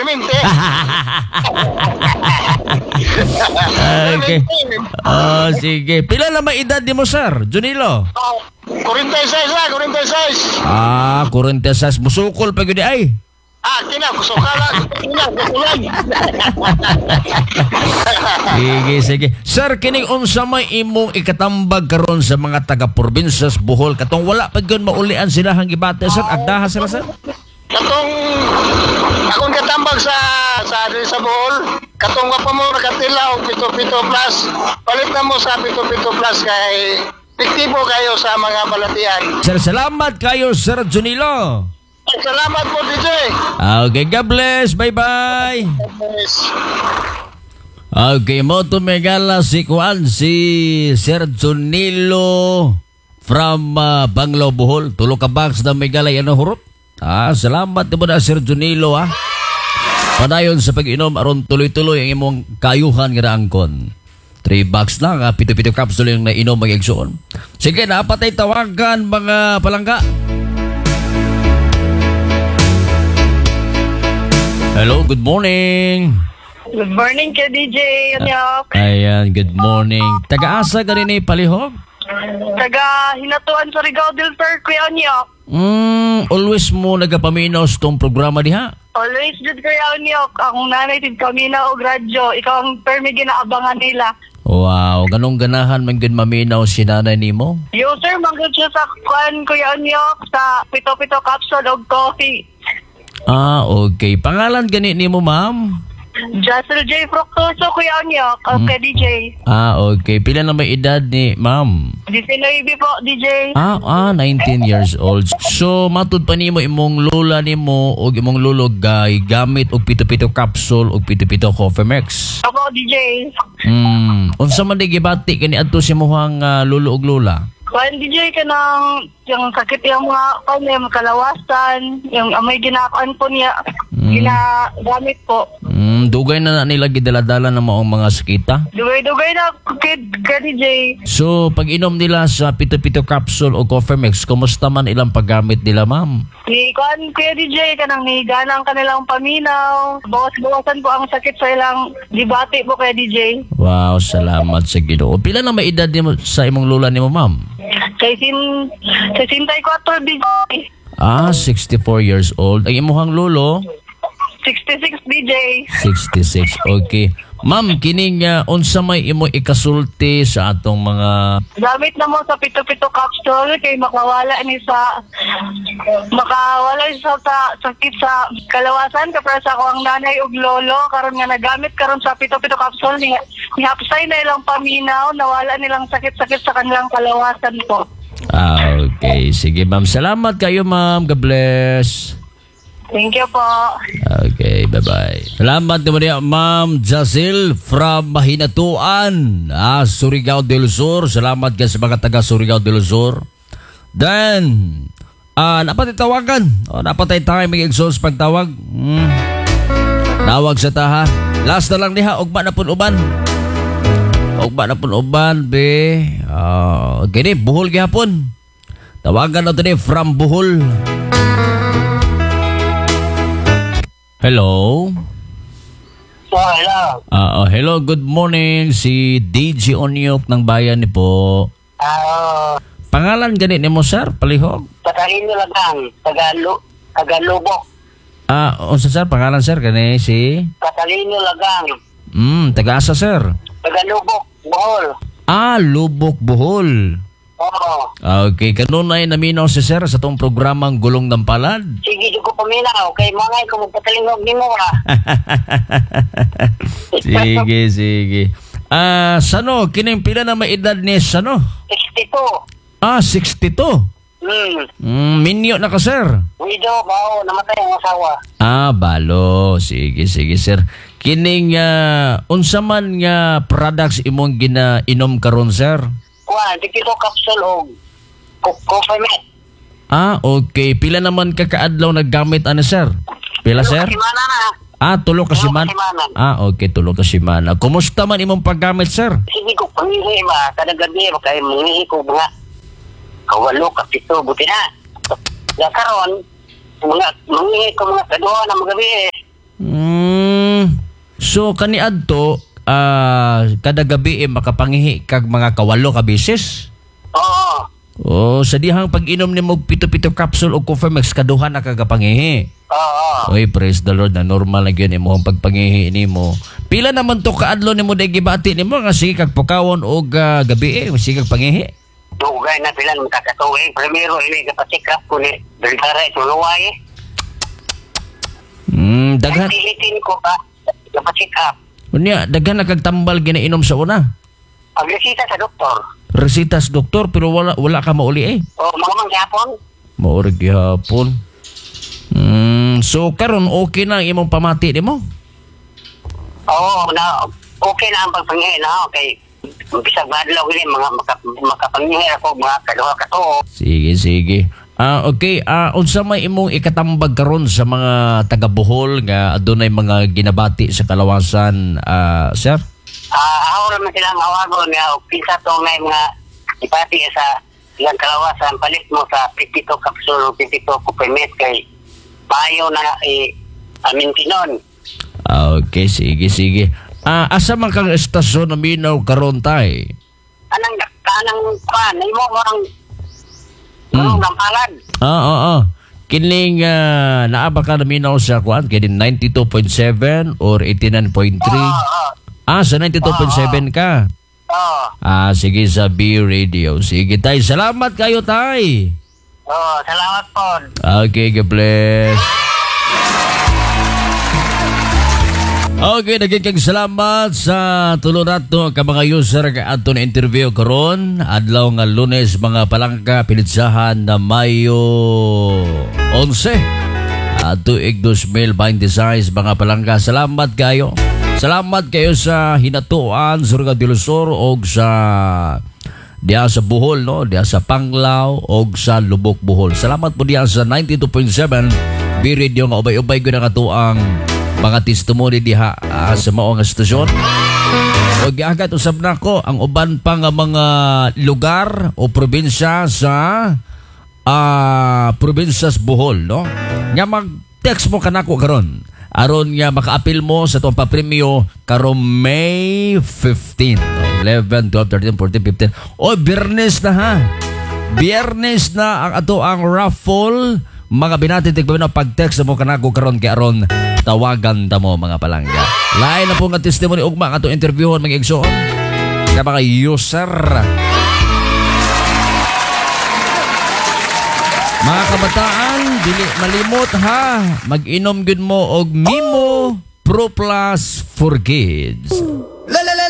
permente. Okay. Oh, sige. Pila na may edad nimo, Sir Junilo? Oh, 46 na, 46. Ah, 46. Musukol pa gyud ay. Ah, kina, kusukala, kina, kusulan. Sige, sige. Sir, kining unsa may imong ikatambag karon sa mga taga-probinsya sa Bohol katong wala pa gyud maulian sila hang gibate, sir? Agdaha sila, sir. Katong akong katambag sa diri sa Bohol, katong wa pa mo nakatila og 77 plus, palit na mo sa 77 plus kay epektibo kayo sa mga balatian. Sir, salamat kayo, Sir Junilo. Salamat po, DJ. Okay, God bless. Bye-bye. Yes. Okay, mo tumigala si Juan, si Sir Junilo from Banglao, Bohol. Tulo ka box na Megala yan ang hurot. Ah, salamat mo na, Sir Junilo, ah. Padayon sa pag-inom aron tuloy-tuloy ang imong kayuhan nga naangkon. 3 box lang, ah, pito-pito capsule yung nainom, mga igsoon. Sige, napatay tawagan, mga palangga. Hello, good morning. Good morning kay DJ Onyok. Ayan, good morning. Taga-asa ka rin eh, palihog? Taga Hinatuan sa Surigao del Sur, Kuya Onyok. Always mo nagapaminaw sa tong programa diha. Always jud, Kuya Onyok. Akong nanay tid kami na og radyo. Ikaw ang permi ginaabangan nila. Wow, ganong ganahan man gud maminaw si nanay nimo. Yo sir, manggod siya sa kuan, Kuya Onyok, sa pito-pito capsule og coffee. Ah, okay. Pangalan gani nimo, ma'am? Jassel J. Fructoso, Kuya Onyok. Okay, DJ. Ah, okay. Pila na may edad ni ma'am? 19 po, DJ. Ah, 19 years old. So, matud pa nimo imong lola nimo og imong lolo gay gamit og pito-pito capsule og pito-pito Coffee Mix. Opo, DJ. Unsa man di gibati kani adto si imuhang lolo og lola? Kuan, DJ, kanang yung sakit yung mga kuan, yung kalawasan, yung may ginakuan po niya, ginagamit po. Dugay na na nila gidaladala ng maong mga sakita. Dugay-dugay na, kid, ka DJ. So, pag inom nila sa pito-pito capsule o Coffee Mix, kumusta man ilang paggamit nila, ma'am? Ni kuan, Kuya DJ, kanang ni ganang kanilang paminaw. Bawas-bawasan po ang sakit sa ilang dibati po, Kuya DJ. Wow, salamat sa Ginoo. Pila na may edad nimo sa imong lola nimo, ma'am? Kay sin 64, DJ. Ah, 64 years old. Ang imuhang lolo? 66, DJ. 66. Okay. Ma'am, kining unsa may imo ikasulti sa atong mga Gamit na mo sa pito-pito capsule kay makawala ni sa sakit sa kalawasan kapag sa ako ang nanay ug lolo karon nga nagamit karon sa pito-pito capsule ni nihapsay na ilang paminaw, nawala nilang sakit-sakit sa kanilang kalawasan po. Ah, okay. Sige, ma'am. Salamat kayo, ma'am. God bless. Thank you po. Okay, bye-bye. Salamat naman niya, Ma'am Jazil from Mahinatuan, ah, Surigao del Sur. Salamat ka sa mga taga Surigao del Sur. Then, dapat itawagan. Oh, dapat ay tayo mag-exhaust pagtawag. Tawag sa taha. Last na lang niha, ugma na pun uban. Ugma na pun uban, be. Ah, gini, Bohol gihapon. Tawagan na ni from Bohol. Hello. Oh, hello. Ah, oh, hello, good morning. Si DJ Onyok ng bayan ni po. Ah, Pangalan gani nimo, sir, palihog? Tagalino lang, Tagalo, Tagalubok. Ah, unsa, sir, pangalan, sir, kani si Catalino Lagang, Taga-asa, sir? Tagalubok, Bohol. Ah, Lubok, Bohol. Oo. Ah, okay, kanunay naminaw si sir sa tong programang Gulong ng Palad. Sige, di ko paminaw. Kay mga ko magpatalingog ni mo, ah. Sige, sige. Ah, sano kining pila na may edad ni sano? 62. Ah, 62. Minyo na ka, sir. Widow, bao, namatay ang asawa. Ah, balo. Sige, sige, sir. Kining unsa man nga products imong ginainom karon, sir? Kuan, pito capsule og coffee mate. Ah, okay. Pila naman ka kaadlaw naggamit ani, sir? Pila, sir? Simana na. Ah, tulo ka Tulo ka simana. simana. Ah, okay, tulo ka simana. Kumusta man imong paggamit, sir? Sige ko pangihi ba, kada gabi ba kay mangihi ko mga kawalo, kapito, buti na. Ya karon, mga mangihi ko mga kaduha na magabi eh. So kaniadto kada gabi makapangihi kag mga 8 ka beses. Oo. Oh, sa dihang pag-inom nimo og 77 capsule og Confirmex kaduha na kagapangihi. Oo. Oy, praise the Lord na normal na gyud imong pagpangihi nimo. Pila naman to kaadlaw nimo day gibati nimo nga sige kag pukawon og gabi sige kag pangihi. Dugay na pila ng kakatuig. Primero ini kapacheck up ko ni Bergara ituluway. Daghan. Pilitin ko ba kapacheck up. Unya, daghan na kag tambal ginainom sa una. Ang resita sa doktor. Resita sa doktor pero wala ka mauli eh. O mga mangyapon. Mauri gihapon. So karon okay na ang imong pamati nimo? Oo, na okay na ang pagpangihi na okay. Bisag madlaw gini mga makapangihi ako mga kaduha ka tuo. Sige, sige. Okay, unsa may imong ikatambag karon sa mga taga Bohol nga adunay mga ginabati sa kalawasan, sir? Ako naman silang hawagon nga og kinsa to nga mga ipati sa ilang kalawasan palit mo sa 52 capsule o 52 kupimet kay maayo na amintinon. Okay, sige, sige. Asa man kang estasyon na minaw karon tay? Anang kanang pan imo mo ang ng palad. Kining naa ba ka naminaw sa kuan kini 92.7 or 89.3? Oo. Sa 92.7 ka. Oo. Sige sa B Radio. Sige tay, salamat kayo tay. Oo, salamat po. Okay, God bless. Okay, nagiging salamat sa tulo nato ka mga user ka ato na interview karon adlaw nga Lunes mga palangka pilitsahan na Mayo 11 tuig 2026 mga palangka. Salamat kayo. Salamat kayo sa Hinatuan, Surigao del Sur og sa diha sa Bohol, no, diha sa Panglao og sa Lubok Bohol. Salamat po diha sa 92.7 B Radio nga ubay-ubay gyud ang atoang mga testimony diha sa mao nga estasyon. O giagad usab nako ang uban pa nga mga lugar o probinsya sa probinsya sa Bohol, no? Nga mag-text mo kanako karon aron nga makaapil mo sa tuang papremyo karon May 15, 11, 12, 13, 14, 15. O Biyernes na ha. Biyernes na ang ato ang raffle. Mga binati tigpamino pag-text mo kanako karon kay aron tawagan ta mo mga palangga. Lain na po nga testimony ugma ang atong interviewon mga igsoon sa mga user. Mga kabataan, dili malimot ha. Mag-inom gyud mo og Mimo Pro Plus for Kids.